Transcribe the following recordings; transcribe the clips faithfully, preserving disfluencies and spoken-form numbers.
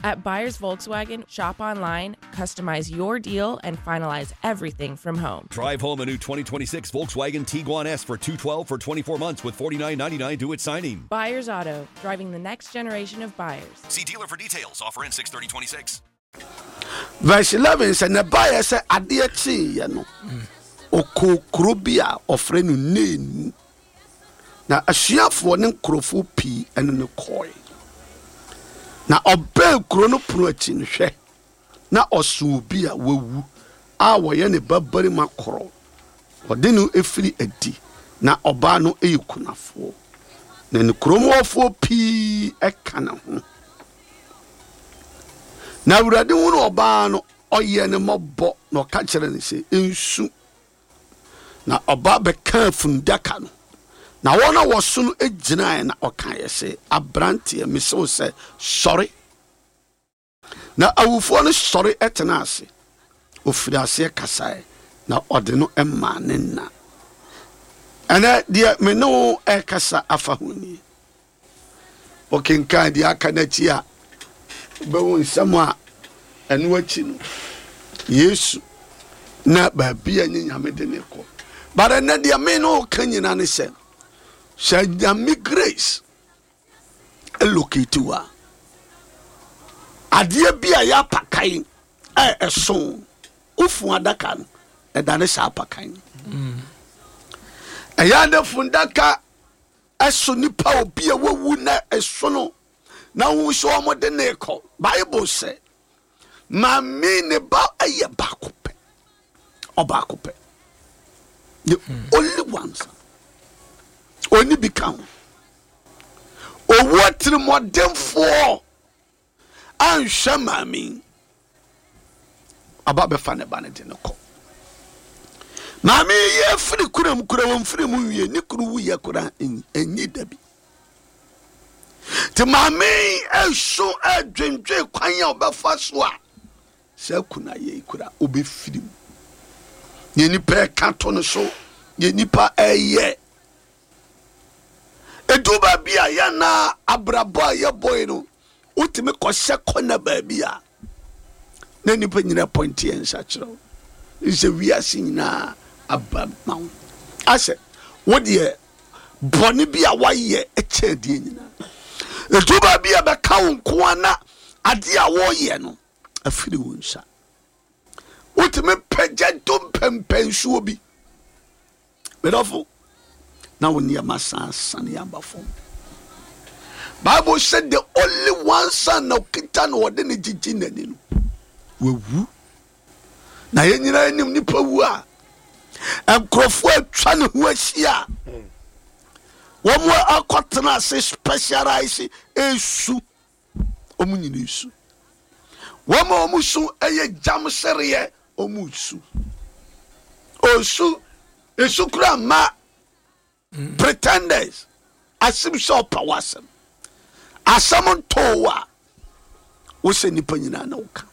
At Buyers Volkswagen, shop online, customize your deal, and finalize everything from home. Drive home a new twenty twenty-six Volkswagen Tiguan S for two twelve for twenty-four months with forty-nine ninety-nine due at signing. Buyers Auto, driving the next generation of buyers. See dealer for details. Offer ends six thirty twenty-six. Verse eleven sɛ ne baeɛ sɛ adeɛ kyeeɛ no, ɔkɔɔ kuro bi a ɔfrɛ no Nain mu, na asuafoɔ ne nkurɔfoɔ pii ɛne no kɔe. Na ɔbɛn kuro no pono akyi no, hwɛ, na ɔso obi a wawu a wɔyɛ ne babarima korɔ, ɔde no efiri adi, na ɔbaa no yɛ kunafoɔ, na ne kuromɔfoɔ pii ɛka ne ho. Na Awurade hunu ɔbaa no, ɔyɛ ne mmɔbɔ, na ɔka kyerɛ no sɛ, nsu. Na ɔbaa bɛka fundaka no, na wɔn a wɔso no gyinaeɛ, na ɔkaeɛ sɛ, aberanteɛ, mese wo sɛ, sɔre. Na awufoɔ no sɔre tena ase, ofiri aseɛ kasaeɛ, na ɔde no maa ne na. Ɛnɛ deɛ me ne wo ɛkasa afa ho nie. Ɔkenkan deɛ aka n'akyi a, wobɛwo nsɛm a ɛno akyi no, Yesu na baabi a nye Nyame de ne kɔ. But ɛnɛ deɛ me ne wo ka nyina ne sɛ, sɛ Nyame grace elocate wo a, adeɛ bi a yɛ apakan a ɛso wofu adaka no, ɛda ne saa apakan. Ɛyɛ ade fundaka ɛso nipa obi a wawu na ɛso no, na wo sɛ ɔmo de ne kɔ. Bible sɛ maame ne ba ɛyɛ baako pɛ, ɔbaako pɛ, the only one son, oni bi ka ho. Owu atirimɔdenfoɔ anhwɛ maame, aba bɛfa ne ba ne de ne kɔ. Maame yi yɛ firi kuram kura wɔn firi mu wie, ne kuru wu yɛ kura enyi dabi. Te maame yi ɛso ɛdwendwen kwan a ɔbɛfa so a sɛ kuna yɛ kura ɔbɛfiri mu. Yɛ nipa ɛka to no so, yɛ nipa ɛyɛ edu baabi a yɛ na abrabɔ a yɛbɔ yi no, wotumi kɔhyɛ kɔna baabi a na nipa nyinaa point yɛn nsa kyerɛ wo sɛ wiase nyinaa aba ma wo, asɛ wodeɛ bɔne bi a wayɛ kyɛn deɛ nyinaa. Edu baabi a bɛka wo nko a, na adeɛ a wɔreyɛ no afiri wo nsa, wotumi pagya do mpɛmpɛnsuo bi medɔfo, na wo nneɛma san sane aba fam. Bible sɛ the only one son na okita na ɔde ne gyigyi n'ani no wawu, na yɛn nyinaa anim nipa wu a, nkurɔfoɔ atwa ne ho ahyia, wɔn akɔtena ase specialize esu, wɔn nyinaa esu. Wɔn a wɔn su yɛ gyam sereɛ, wɔn su osu esu kura ma pretenders asim sɛ ɔpa w'asɛm, asɛm ntoo a wosɛ nipa nyinaa na woka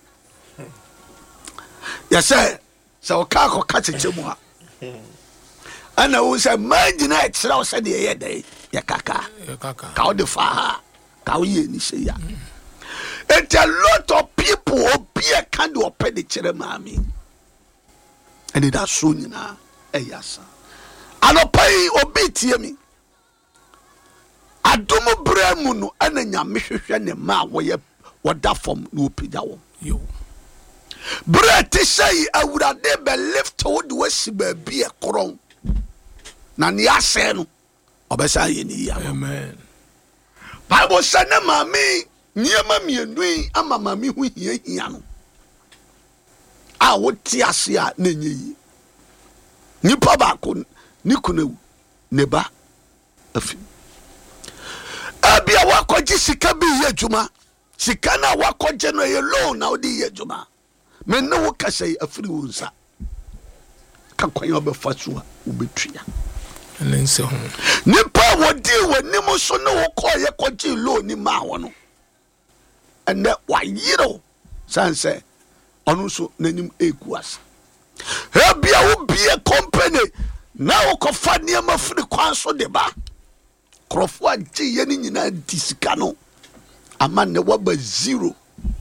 yɛsɛ sɛ ɔka akɔka kyekyɛ mu a, ɛna wo sɛ mmaa nyinaa ɛkyerɛ wo sɛdeɛ ɛyɛ dɛn yɛ kaka ka wode fa ha ka woyɛ ni sɛ ya. It's a lot of people, obi ɛka de ɔpɛ de kyerɛ maame, ɛne da so nyinaa ɛyɛ asa. Anɔpa yi obi tie mi, adom berɛ mu no, ɛna Nyame hwehwɛ ne mma a wɔyɛ wɔda fam na wɔpagya wɔn. Berɛ te sɛ yi, Awurade bɛ lift wo de wasi baabi ɛkorɔn, na nea asɛe no ɔbɛsan yɛ ne yie. Amen. Bible sɛ ne maame nneɛma mmienu yi ama maame ho hiahia no a wote ase a na ɛnyɛ yie. Nipa baako ne kunu awu, ne ba afi. Ebia wakɔgye sika bi yɛ adwuma, sika no a wakɔgye no ɛyɛ loan na wode yɛ adwuma. Me ne wo kasa yi, afiri wo nsa ka kwan a wobɛfa so a wobɛtua. Ɛne nsɛ ho. Nipa a wɔdii w'anim so ne wo kɔɔyɛ kɔgyee loan ni maa wɔ no, ɛnɛ wayerew san sɛ ɔno nso n'anim egu ase. Ebia wobie company na wokɔfa nneɛma firi kwan so de ba, nkurɔfoɔ agye yɛ no nyinaa di sika no ama nnɛ waba zero.